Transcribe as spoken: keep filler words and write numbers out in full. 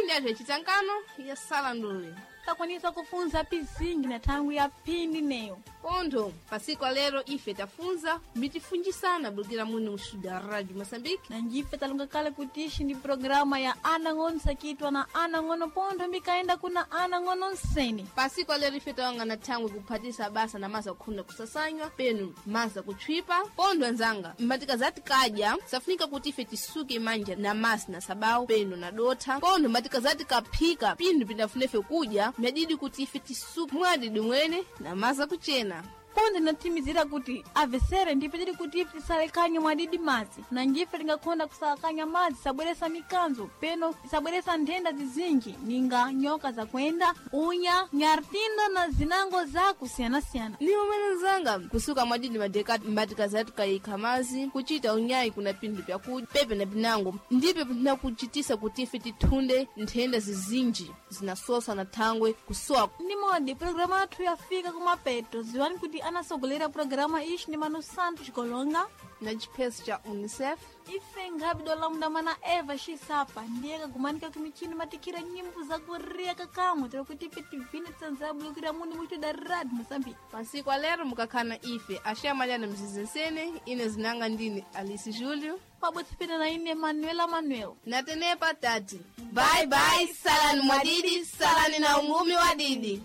Mapindi athu yacitangano ya salandule Takwanisa kufunza pizingi na thangwi ya phindi neyo. Pontho pasiku alero ife tafunza mitifunjisana bulukira muno mstudio Radio Moçambique. Na njife talonga kale kuti ixi ndi programa ya ana ng'ono sakitwa na ana ng'ono pontho mbikaenda kuna ana ng'ono nsene. Pasiku alero ife tawangana thangwi kuphatisa basa na maza kukhunda kusasanywa penu maza kutchwipa. Pontho anzanga mbatika zati kadya safunika kuti ife tisuke manja na masi na sabawu penu na dotha. Pontho mbatika zati kaphika pinthu pindafuna ife kudya myadidi kuti ife tisuke mwadidi mwene na maza kuchena. Pontho inatimizira kuti avesere ndipo tili kuti ife tisalekanye mwadidi madzi na njife tingakhonda kusalakanya madzi sabweresa mikanzo peno isabweresa nthenda zizinji ninga nyoka zakwenda unya nyartindo na zinango zakusiyanasiyana. Ni umene nzanga kusuka mwadidi madeka mbatika zati kayikha mazi kuchita unyayi kuna pinthu pyakudya pepe na pinango ndipo pinakuchitisa kuti ife tithunde nthenda zizinji zinasosa na thangwe kusowa. Ndi modi programa yathu yafika kumapeto. Ziwani kuti anasogolera programa ixi ndi Manu Santos Golonga na chipheso cha UNICEF. Ife nkhapi dolamunda mana Eva Xisapa ndiye kagumanika kumichini matikhira nyimbo zakuriya kakamwe tira kuti ife tivine tsanzabulukira muno muchitoda Radio Moçambique. Pasiku alero mukakhala ife axamalana mzizensene ine zinanga ndine Alice Julio pabodzi pena na ine Manuela Manuel. Natenepa tati bye bye, salani mwadidi, salani na ungumi wa didi.